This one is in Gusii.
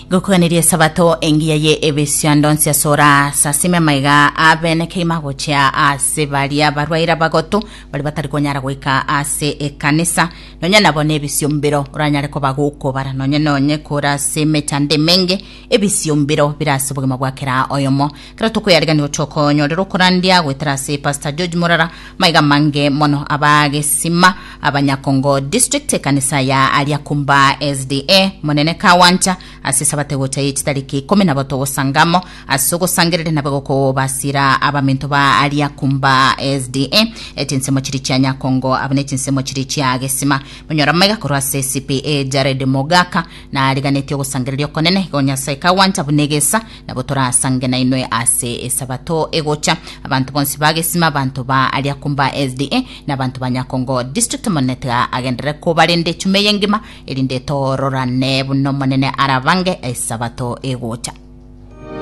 Gokoganeria esabato engiya ye ebisiando onsi ase ora sasime amaiga abene keima gochia ase baria barwaire abagotu baria batari konyara goika ase ekanisa nonya nabo nebisio mbiro oranyare koba gokobara nonye nonye kore ase emechando emenge ebisio mbiro bire ase obogima bwa kera oyomo kera tokoyarigania gochia okonyorera okorandia goetera ase Pastor George Morara maiga mange mono abagesima Abanyakongo District ekanisa ya aria Kumba SDA monene Kawancha ase esabate gocha ye chitariki ikomi nabo togosanga amo ase ogosangereria nabe gokobasira abaminto ba aria Kumba SDA echinsemo chiri chia Nyakongo abo ne chinsemo chiri chia Gesima monyora maiga korwa ase CPA Jared Mogaka nariganetie ogosangereria okonene igo Nyasae Kawancha buna egesa Nabo torasange nainwe ase esabato egocha. Abanto bonsi ba Gesima, abanto ba aria Kumba SDA, na abanto ba Nyakongo District, Omonene tiga agenderere kobarenda echuma eye engima, erinde tororane buna Omonene arabange esabato egocha.